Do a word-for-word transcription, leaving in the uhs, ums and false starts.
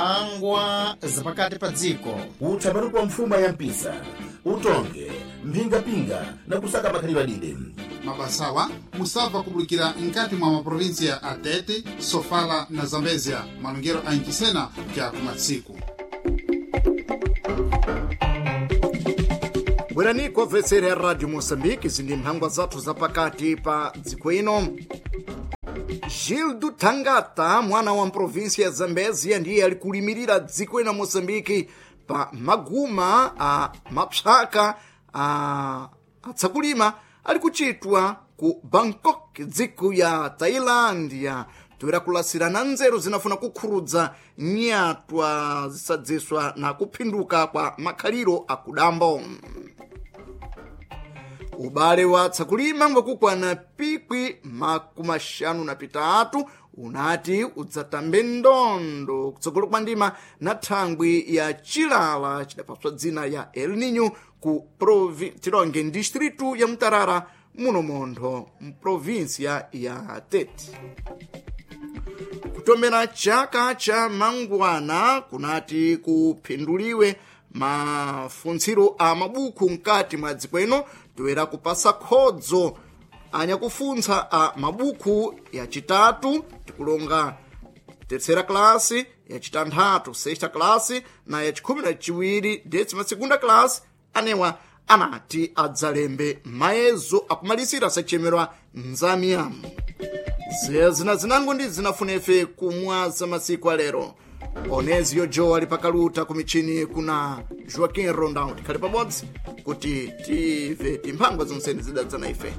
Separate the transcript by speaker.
Speaker 1: Mphangwa zapakati pa dziko.
Speaker 2: Utsamani kwa mfuma ya mpisa, utonge mphingapinga na kusaka makhalidwe adide.
Speaker 3: Mabasawa musabva kubulikira nkati mwa maprovinsia a Tete, Sofala na Zambezia, malongero a Ncisena kya kumatsiku.
Speaker 4: Bwerani obvetsera ya Radio Moçambique, zindi mphangwa zathu zapakati pa dziko ino. Gildo Tangata, mwana wa mprovinsia ya Zambezia, ndiye ali kulimirira dziko ina Moçambique pa maguma a mapsaka a atsakulima ali kuchitwa ku Bangkok, dziko ya Tailândia. Toera kulasirana nzeru zinafuna kukhurudza nyatwa zisadziswa na kuphinduka kwa makhaliro akudambo. Ubale wa tsakulima ngwakukwana pikwi makumi axanu na pitatu unati udzatambe ndondo kutsogolo kwa ndima na thangwi ya chilala chidapaswa dzina ya El Nino ku provi tilonge distritu ya Mutarara, muno montho mprovinsia ya Tete. Kutomera chaka cha mangwana kunati kuphinduliwe mafuntsiro a mabuku mkati mwa dziko ino, toera kupasa khodzo anyakufuntsa a mabuku yacitatu, tikulonga terceira classe, yacitanthatu, sexta classe, na yacikhumi na ciwiri, décima segunda classe, anewa anati adzalembe mayezo akumalisira sachemerwa nzamiya. Zeya zina zinango ndi zinafunefe kumwaza masiku alero. Oneziyo Joe ali pakaluta ku michini kuna Joaquim Rondão. Tikhale pabodzi kuti tive timphangwa zonseni zidadza na ife.